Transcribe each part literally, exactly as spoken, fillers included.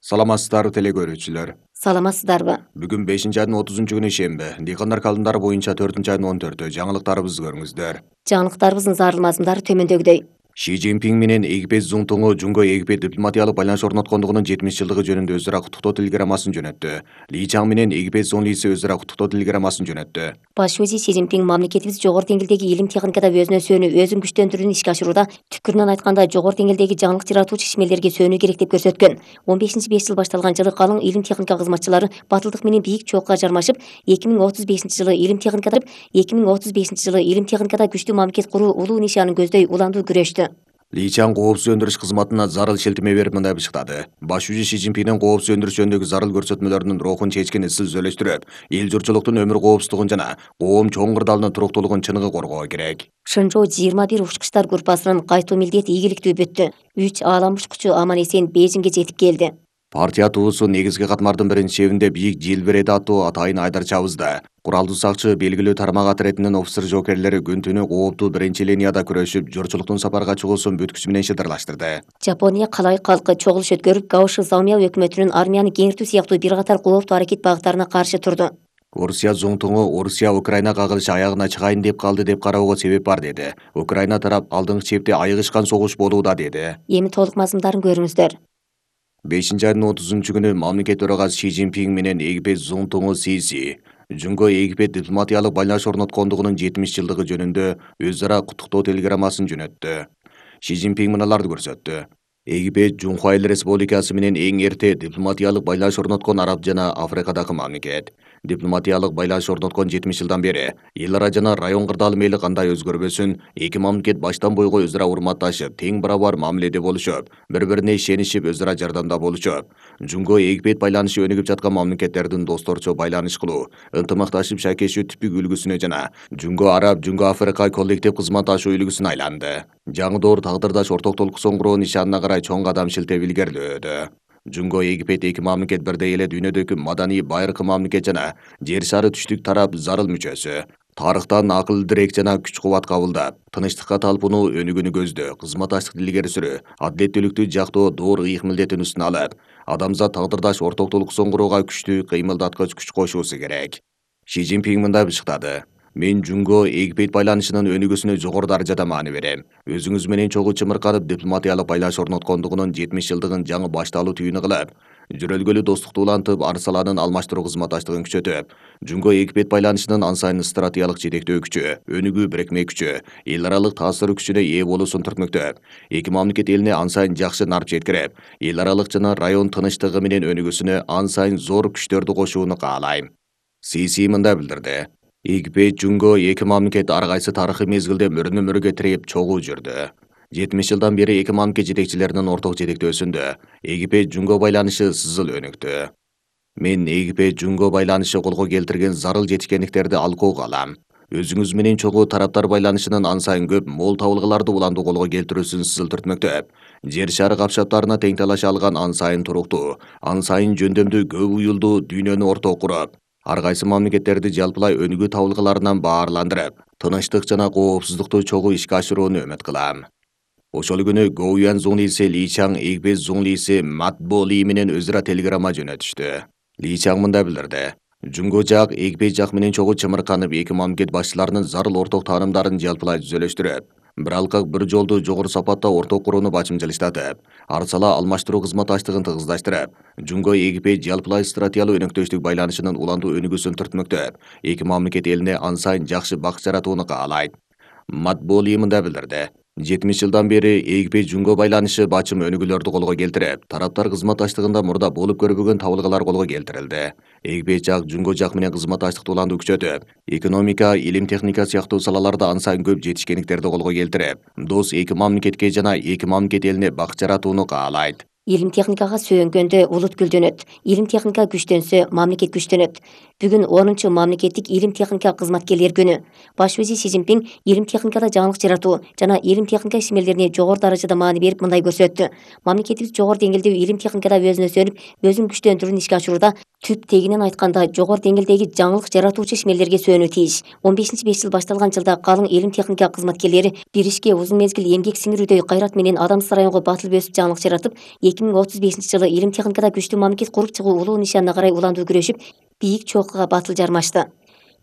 Саламатсыздарбы теле көрүүчүлөр. Саламатсыздарбы? Бүгүн бешинчи айдын отузунчу күнү шемби. Дыйкандар календарı боюнча төртүнчү айдын он төртү. Жаңылыктарыбызды көрүңүздөр. Жаңылыктарыбыздын зарыл мазмундары төмөндөгүдөй. Ши Цзиньпин менен Эгипет Зуңтуңу Жунго Эгипет дипломатиялык байланыш орноткондугунун жетимиш жылдыгы жөнүндө өз ара куттуктоо телеграммасын жөнөттү. Ли Чаң менен Эгипет Зоңлиси өз ара куттуктоо телеграммасын жөнөттү. Баш вазир Ши Цзиньпин мамлекетибиз жогору деңгээлдеги илим техникада өзүнө сөөнүп, өзүн күчтөндүрүүнү ишке ашырууда түпкүрүнөн айтканда жогору деңгээлдеги жаңылык жаратуучу ишмерлерге сөөнүү керек деп көрсөткөн. он бешинчи беш жыл башталган жылы калың илим техника кызматчылары батылдык менен бийик чоокка жармашып, эки миң отуз бешинчи жылы илим техникада эки миң отуз бешинчи жылы илим техникада күчтүү мамлекет куруу улуу нишанын көздөй уландуу күрөштү. Ли Чаң коопсуз өндүрүш кызматына зарыл шелтеме берип мындай бышыктады. Баш вазир Ши Цзиньпиндин коопсуз өндүрүш жөнүндөгү зарыл көрсөтмөлөрүнүн рухун чечкен ысыл сөйлөштүрүп, эл журтчулуктун өмүр коопсуздугун жана коом чоң кырдаалынын туруктуулугун чыныгы коргоо керек. Шынжоо жыйырма бир учкучтар группасынын кайтуу милдети ийгиликтүү бүттү. үч аалам учкучу аман эсен Бейжиңге жетип келди. Партия туусу негизги катмардын биринин шебинде бийик желбиреди аттуу атайын Айдар Чабызда. Куралдуу сакчы белгилүү тармак отрядынын офицер жоокерлери күн түнү кооптуу биринчи линияда күрөшүп, журтчулуктун сапарга чыгуусун бүткүчү менен шыдырлаштырды. Жапония калай калкы чогулуш өткөрүп, Гаоши Заумя өкмөтүнүн армияны кеңиртүү сыяктуу бир катар кооптуу аракет багыттарына каршы турду. Орусия Зуңтуңу Орусия Украина кагылышы аягына чыгайын деп калды деп кароого себеп бар деди. Украина тарап алдыңкы чепте айыгышкан согуш болууда деди. Эми толук мазмундарын көрүңүздөр. бешинчи айдын отузунчу күнү мамлекет төрагасы Ши Цзиньпин менен Эгипет Зуңтуңу Сиси Жунго Эгипет дипломатиялык байланыш орноткондугунун жетимиш жылдыгы жөнүндө өз ара куттуктоо телеграммасын жөнөттү. Ши Цзиньпин мыналарды көрсөттү. Эгипет Жунхуа Эл Республикасы менен эң эрте дипломатиялык байланыш орноткон араб жана Африкадагы мамлекет. Дипломатиялык байланыш орноткон жетимиш жылдан бери эл ара жана район кырдаалы мейли кандай өзгөрбөсүн, эки мамлекет баштан бойго өз ара урматташып, тең барабар мамиледе болушуп, бири-бирине ишенишип, өз ара жардамда болушуп. Жунго Эгипет байланышы өнүгүп жаткан мамлекеттердин досторчо байланыш кылуу, ынтымакташып шайкешүү типик үлгүсүнө жана Жунго Араб, Жунго Африка коллектив кызматташуу үлгүсүнө айланды. Жаңы доор тагдырдаш орток толкусун куруу нишанына карай чоң кадам шилтеп илгерилөөдө. Жунго Эгипет эки мамлекет бирдей эле дүйнөдөгү маданий байыркы мамлекет жана жер шары түштүк тарап зарыл мүчөсү. Тарыхтан акыл дирек жана күч кубат кабылдап, тынычтыкка талпынуу өнүгүүнү көздөө, кызматташтыкты илгери сүрүү, адилеттүүлүктү жактоо доор ыйык милдетин үстүнө алып, адамзат тагдырдаш орток толкусун курууга күчтүү кыймылдаткыч күч кошуусу керек. Ши Цзиньпин мындай бышыктады. Мен Жунго Эгипет байланышынын өнүгүүсүнө жогору даражада маани берем. Өзүңүз менен чогуу чымырканып дипломатиялык байланыш орноткондугунун жетимиш жылдыгын жаңы башталуу түйүнү кылып, жүрөлгөлүү достукту улантып, ар саланын алмаштыруу кызматташтыгын күчөтүп, Жунго Эгипет байланышынын ан сайын стратегиялык жетектөө күчү, өнүгүү бирикме күчү, эл аралык таасир күчүнө ээ болуусун түртмөктөп, эки мамлекет элине ан сайын жакшы нарп жеткирип, эл аралык жана район тынычтыгы менен өнүгүүсүнө ан сайын зор күчтөрдү кошууну каалайм. Сиси мындай билдирди. Эгипет Жунго эки мамлекет ар кайсы тарыхый мезгилде мөрүнө-мөргө тиреп чогуу жүрдү. жетимиш жылдан бери эки мамлекет жетекчилеринин орток жетектөөсүндө Эгипет Жунго байланышы сызыл өнүктү. Мен Эгипет Жунго байланышы колго келтирген зарыл жетишкендиктерди алкоого алам. Өзүңүз менен чогуу тараптар байланышынын ан сайын көп мол табылгаларды уланды колго келтирүүсүн сызыл түртмөктөп, жер шары капшаптарына тең талаша алган ан сайын туруктуу, ан сайын жөндөмдүү көп уюлдуу дүйнөнү орток куруп, ар кайсы мамлекеттерди жалпылай өнүгүү табылгаларынан баарландырып, тынычтык жана коопсуздукту чогуу ишке ашырууну үмүт кылам. Ошол күнү Гоуян Зуңлиси Ли Чаң Эгипет Зуңлиси Матбо Ли менен өз ара телеграмма жөнөтүштү. Ли Чаң мындай билдирди. Жунго жак Эгипет жак менен чогуу чымырканып, эки мамлекет башчыларынын зарыл орток таанымдарын жалпылай түзөлөштүрүп, бир алкак бир жолду жогору сапатта орток курууну бачымчылыштатып, ар сала алмаштыруу кызматташтыгын тыгыздаштырып, Жунго Эгипет жалпылай стратегиялык өнөктөштүк байланышынын уландуу өнүгүүсүн түртмөктөп, эки мамлекет элине ан сайын жакшы бак жаратууну каалайт. Матбо Ли мындай билдирди. жетимиш жылдан бери Эгипет Жунго байланышы бачым өнүгүүлөрдү колго келтирип, тараптар кызматташтыгында мурда болуп көрбөгөн табылгалар колго келтирилди. Эгипет жак Жунго жак менен кызматташтыкты уландуу күчөтүп, экономика, илим техника сыяктуу салаларда ан сайын көп жетишкендиктерди колго келтирип, дос эки мамлекетке жана эки мамлекет элине бак жаратууну каалайт. Илим техникага сүйөнгөндө улут гүлдөнөт. Илим техника күчтөнсө, мамлекет күчтөнөт. Бүгүн онунчу мамлекеттик илим техника кызматкерлер күнү. Баш вазир Ши Цзиньпин илим техникада жаңылык жаратуу жана илим техника ишмерлерине жогору даражада маани берип мындай көрсөттү. Мамлекетибиз жогору деңгээлдеги илим техникада өзүнө сөнүп, өзүн күчтөндүрүүнү ишке ашырууда Түп тегинен айтканда жогору деңгээлдеги жаңылык жаратуучу ишмерлерге сөөнүү тийиш. он бешинчи беш жыл башталган жылда калың илим техника кызматкерлери бир ишке узун мезгил эмгек сиңирүүдөй кайрат менен адамсыз районго батылып өсүп жаңылык жаратып, эки миң отуз бешинчи жылы илим техникада күчтүү мамлекет куруп чыгуу улуу нишанына карай уландуу күрөшүп, бийик чокуга батыл жармашты.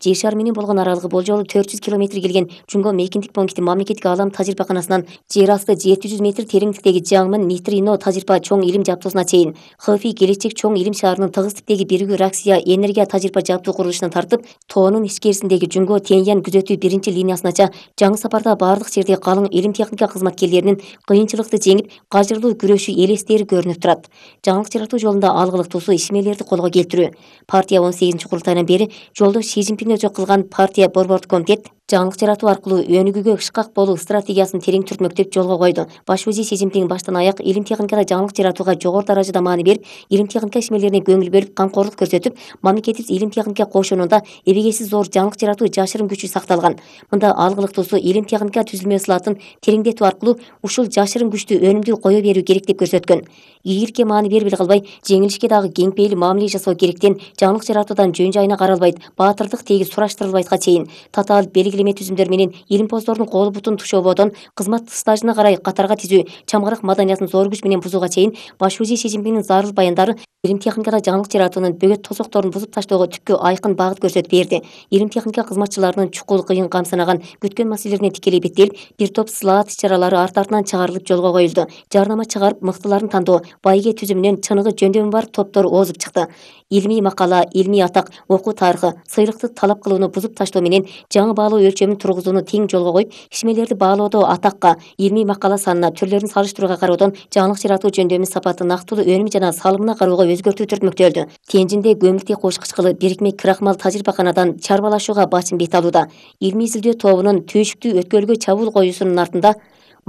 Жер шары менен болгон аралыгы болжолу төрт жүз километр келген Жунго мейкиндик пункти мамлекеттик аалам тажрыйбаканасынан жер асты жети жүз метр тереңдиктеги Жаңмын нейтрино тажрыйба чоң илим жабдуусуна чейин ХФИ келечек чоң илим шаарынын тыгыз типтеги биригүү Раксия энергия тажрыйба жабдуу курулушунан тартып, тоонун ичкерисиндеги Жунго Тяньян күзөтүү биринчи линиясынача жаңы сапарда баардык жерде калың илим техника кызматкерлеринин кыйынчылыкты жеңип, кажырлуу күрөшү элестери көрүнүп турат. Жаңылык жаратуу жолунда алгылыктуусу ишмерлерди колго келтирүү. Партия он сегизинчи курултайынан бери жолдош Си Цзиньпин өчө кылган партия борбордук комитет жаңылык жаратуу аркылуу өнүгүүгө ышкак болуу стратегиясын терең түртмөктөп жолго койду. Баш вазир Си Цзиньпин баштан аяк илим техникада жаңылык жаратууга жогору даражада маани берип, илим техника ишмерлерине көңүл бөлүп, камкорлук көрсөтүп, мамлекетибиз илим техника кошонунда эбегейсиз зор жаңылык жаратуу жашырын күчү сакталган. Мында алгылыктуусу илим техника түзүлмө ысылатын тереңдетүү аркылуу ушул жашырын күчтү өнүмдүү кое берүү керек деп көрсөткөн. Ийгиликке маани бербей калбай, жеңилишке дагы кең пейил мамиле жасоо керектен жаңылык жаратуудан жөн жайына каралбайт, баатырдык теги сураштырылбайтка чейин татаал белгилеме түзүмдөр менен илимпоздордун колу бутун тушоободон кызмат стажына карай катарга тизүү, чамгарак маданиятын зор күч менен бузууга чейин баш вазир Си Цзиньпиндин зарыл баяндары илим техникада жаңылык жаратуунун бөгөт тосокторун бузуп таштоого түпкү айкын багыт көрсөтүп берди. Илим техника кызматчыларынын чукул кыйын кам санаган күткөн маселелерине тикелей беттелип, бир топ сылаат иш-чаралары арт артынан чыгарылып жолго коюлду. Жарнама чыгарып, мыктыларын тандоо, байге түзүмүнөн чыныгы жөндөмү бар топтор озуп чыкты. Илмий макала, илмий атак, окуу тарыхы, сыйлыкты талап кылууну бузуп таштоо менен жаңы баалоо өлчөмүн тургузууну тең жолго коюп, ишмерлерди баалоодо атакка, илмий макала санына, түрлөрүн салыштырууга кароодон жаңылык жаратуу жөндөмү сапаты, нактылуу өнүм жана салымына кароого өзгөртүү түртмөктөлдү. Тенжинде көмүртек кошкучкылы бирикме крахмал тажрыйбаканадан чарбалашууга башым бет алууда. Илмий изилдөө тобунун түйшүктүү өткөлгө чабуул коюусунун артында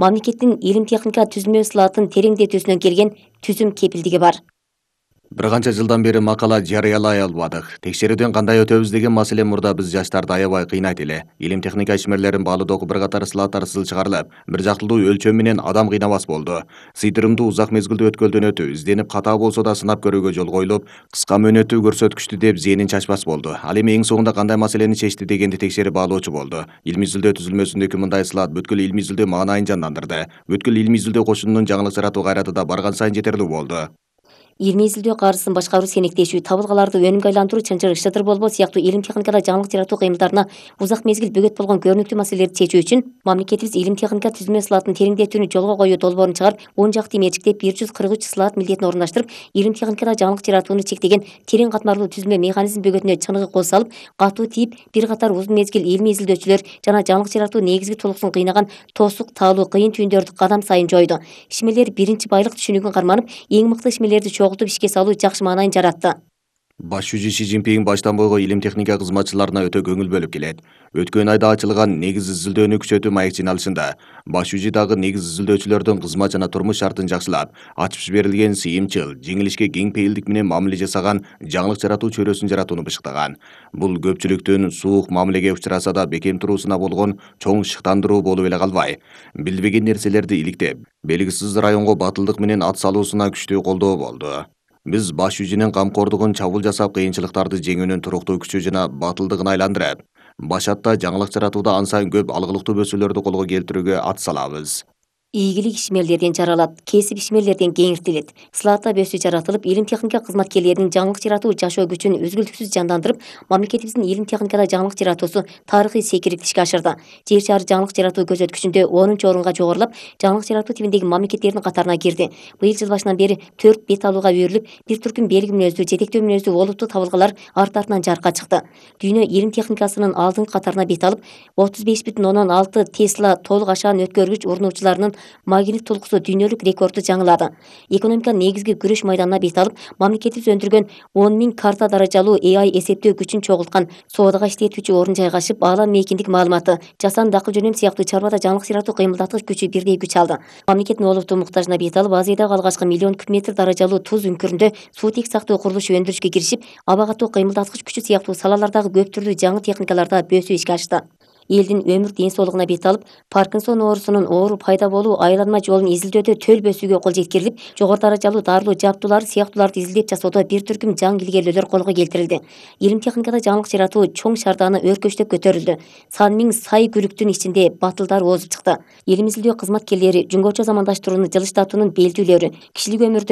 мамлекеттин илим техника түзүлмө ысылатын тереңдетүүсүнөн келген түзүм кепилдиги бар. Бир канча жылдан бери макала жарыялай албадык. Текшерүүдөн кандай өтөбүз деген маселе мурда биз жаштарды аябай кыйнайт эле. Илим техника ишмерлерин баалоодогу бир катар слаттар чыгарылып, бир жактылуу өлчөм менен адам кыйнабас болду. Сыйдырымдуу узак мезгилдүү өткөлдөн өтүү, изденип катаа болсо да сынап көрүүгө жол коюлуп, кыска мөөнөттүү көрсөткүчтү деп зээнин чачпас болду. Ал эми эң соңунда кандай маселени чечти дегенди текшерип баалоочу болду. Илимий изилдөө түзүлмөсүндөгү мындай слат бүткүл илимий изилдөө маанайын жандандырды. Бүткүл илимий изилдөө кошунунун жаңылык жаратуу кайраты да барган сайын жетерлүү болду. Илмий изилдөө каржысын башкаруу, сенектешүү, табылгаларды өнүмгө айландыруу, чынжыр, шыдыр болбоо сыяктуу илим техникада жаңылык жаратуу кыймылдарына узак мезгил бөгөт болгон көрүнүктүү маселелерди чечүү үчүн мамлекетибиз илим техника түзүлмө ысылатын тереңдетүүнү жолго коюу долбоорун чыгарып, он жакты мерчиктеп бир жүз кырк үч слат милдетин орундаштырып, илим техникада жаңылык жаратууну чектеген терең катмарлуу түзүлмө механизм бөгөтүнө чыныгы кол салып, катуу тийип, бир катар узун мезгил илмий изилдөөчүлөр жана жаңылык жаратуу негизги толукусун кыйнаган тосук, таалуу, кыйын түйүндөрдү кадам сайын жойду. Ишмерлер биринчи байлык түшүнүгүн карманып, эң мыкты ишмерлерди чогултуп ишке салуу жакшы маанайын жаратты. Баш вазир Си Цзиньпин баштан бойго илим техника кызматчыларына өтө көңүл бөлүп келет. Өткөн айда ачылган негиз изилдөөнү күчөтүү маек жыйналышында баш вазир дагы негиз изилдөөчүлөрдүн кызмат жана турмуш шартын жакшылап, ачып жиберилген сыйымчыл, жеңилишке кең пейилдик менен мамиле жасаган жаңылык жаратуу чөйрөсүн жаратууну бышыктаган. Бул көпчүлүктүн суук мамилеге учураса да бекем туруусуна болгон чоң шыктандыруу болуп эле калбай, билбеген нерселерди иликтеп, белгисиз районго батылдык менен ат салуусуна күчтүү колдоо болду. Биз баш вазирдин камкордугун чабуул жасап, кыйынчылыктарды жеңүүнүн туруктуу күчү жана батылдыгын айландырып, башатта жаңылык жаратууда ан сайын көп алгылыктуу бөсөлөрдү колго келтирүүгө ат салабыз. Ийгилик ишмерлерден жаралат, кесип ишмерлерден кеңиртилет. Слаатта бөсүү жаратылып, илим техника кызматкерлеринин жаңылык жаратуу жашоо күчүн үзгүлтүксүз жандандырып, мамлекетибиздин илим техникада жаңылык жаратуусу тарыхый секирип ишке ашырды. Жер шары жаңылык жаратуу көрсөткүчүндө онунчу орунга жогорулап, жаңылык жаратуу тибиндеги мамлекеттердин катарына кирди. Быйыл жыл башынан бери төрт бет алууга үйрүлүп, бир түркүм белги мүнөздүү, жетектөө мүнөздүү олуттуу табылгалар арт артынан жарыкка чыкты. Дүйнө илим техникасынын алдыңкы катарына бет алып, отуз беш бүтүн ондон алты Тесла толук ашаан өткөргүч урнуучуларынын магнит толкусу дүйнөлүк рекордду жаңылады. Экономика негизги күрөш майданына бет алып, мамлекетибиз өндүргөн он миң карта даражалуу A I эсептөө күчүн чогулткан соодага иштетүүчү орун жайгашып, аалам мейкиндик маалыматы, жасанды дакыл жөнөм сыяктуу чарбада жаңылык жаратуу кыймылдаткыч күчү бирдей күч алды. Мамлекеттин олуттуу муктажына бет алып, Азиядагы алгачкы миллион куб метр даражалуу туз үңкүрүндө суутек сактоо курулушу өндүрүшкө киришип, аба катуу кыймылдаткыч күчү сыяктуу салалардагы көп түрлүү жаңы техникаларда бөсүү ишке ашты. элдин өмүр ден соолугуна бет алып, Паркинсон оорусунун оору пайда болуу айланма жолун изилдөөдө төлбөсүүгө кол жеткирилип, жогору даражалуу дарылуу жабдуулар сыяктууларды изилдеп жасоодо бир түркүм жаңы илгерүүлөр колго келтирилди. Илим техникада жаңылык жаратуу чоң шаардаганы өркөчтөп көтөрүлдү. Сан миң сай күрүктүн ичинде батылдар оозуп чыкты. Элим изилдөө кызматкерлери жүнгөчө замандаштырууну жылыштатуунун белдүүлөрү, кишилик өмүрдө